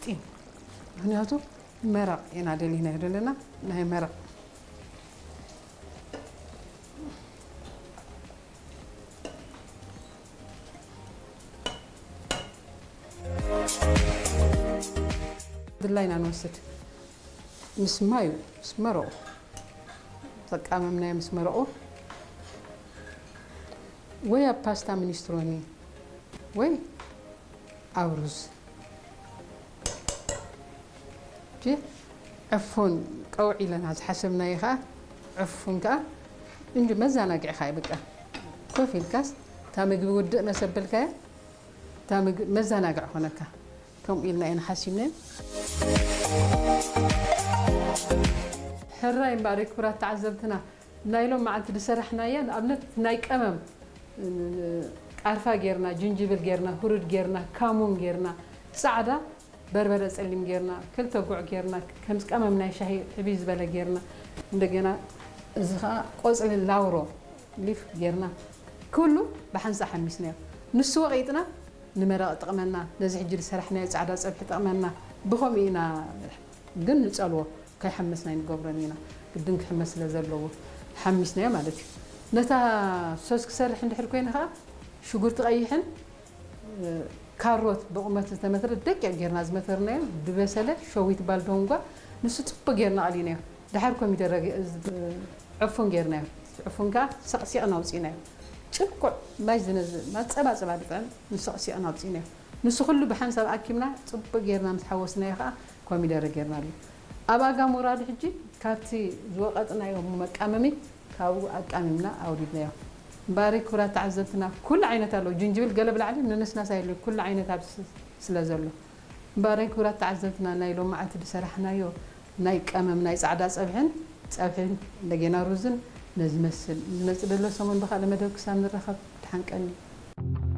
ጢም። ምኽንያቱ መረቕ ኢና ደሊናዮ ዘለና፣ ናይ መረቕ። ድላይና ንወስድ። ምስ ማዩ፣ ምስ መረቑ። ዘቃመምናዮ ምስ መረቑ። ወይ ኣብ ፓስታ ሚኒስትሮኒ፣ ወይ ኣብ ሩዝ። እሺ፣ ዕፉን ቀውዒ ኢለና ዝሓሰብናዮ ኸዓ፣ ዕፉን ከኣ እንጂ መዘናግዒ ኸዓ እዩ በቃ። ኮፍ ኢልካስ፣ እታ ምግቢ ውድእ መሰበልካዮ፣ እታ ምግቢ መዘናግዒ ኾነካ። ከምኡ ኢልና ኢና ሓሲብናዮ። ሕራይ እምበኣር ክቡራት ተዓዘብትና፣ ናይ ሎም መዓልቲ ዝሰራሕናያ፣ ንኣብነት ናይ ቀመም፣ ቃርፋ ጌርና፣ ጅንጅብል ጌርና፣ ሁሩድ ጌርና፣ ካሙን ጌርና፣ ጻዕዳ በርበረ ጸሊም ጌርና፣ ክልተ ጉዕ ጌርና፣ ከምዚ ቀመም ናይ ሻሂ ዕብይ ዝበለ ጌርና፣ እንደገና እዚ ኸኣ ቆጽሊ ላውሮ ሊፍ ጌርና፣ ኩሉ ብሓንሳእ ሓሚስናዮ። ንሱ ወቒጥና ንመረቕ ይጠቕመና፣ ነዚ ሕጂ ዝሰራሕናዮ ጻዕዳ ጸብሒ ይጠቕመና፣ ብኸምኡ ኢና ግን ንጸልዎ፣ ከይሕመስ ናይ ንገብሮን ኢና። ግድን ክሕመስ ስለ ዘለዎ፣ ሓሚስናዮ ማለት እዩ። ነታ ሶስ ክሰርሕ እንድሕር ኮይነ ኸኣ፣ ሽጉርቲ ቀይሕን፣ እ፣ ካሮት ብቑመት ዝተመትረ ደቂቕ ጌርና ዝመተርናዮ፣ ዝበሰለ ሸዊት ባልዶንጓ፣ ንሱ ጽቡቕ ጌርና ኣሊናዮ። ደሓር ኮሚደረ ገ-፣ ዝ-፣ ዕፉን ጌርናዮ። ዕፉን ከኣ ሰቕሲቕና ኣውጺእናዮ። ጭቁዕ ማይ ዝነዝ-፣ ማጸባጸባ ዝጥዕም ንሰቕሲቕና ኣውጺእናዮ። ንሱ ኩሉ ብሓንሳብ ኣኪብና፣ ጽቡቕ ጌርና ምስ ሓወስናዮ ከኣ ኮሚደረ ጌርናሉ። ኣብ ኣጋ ምውራዱ ሕጂ ካብቲ ዝወቐጥናዮ መቃመሚ ካብኡ ኣቃሚምና ኣውሪድናዮ። እምበኣረይ ክቡራት ተዓዘብትና፣ ኩሉ ዓይነት ኣሎ። ጅንጅብል ገለ ብላዕሊ ንነስናስ ኣየድልዮን፣ ኩሉ ዓይነት ኣብዚ ስ-፣ ስለ ዘሎ። እምበኣረይ ክቡራት ተዓዘብትና፣ ናይ ሎማዓንቲ ዝሰራሕናዮ ናይ ቀመም ናይ ጻዕዳ ጸብሕን፣ ጸብሕን እንደገና ሩዝን ነዚ መስል። ዝመጽእ ዘሎ ሰሙን ብኻልእ መደብ ክሳብ ንራኸብ፣ ደሓን ቀኒ።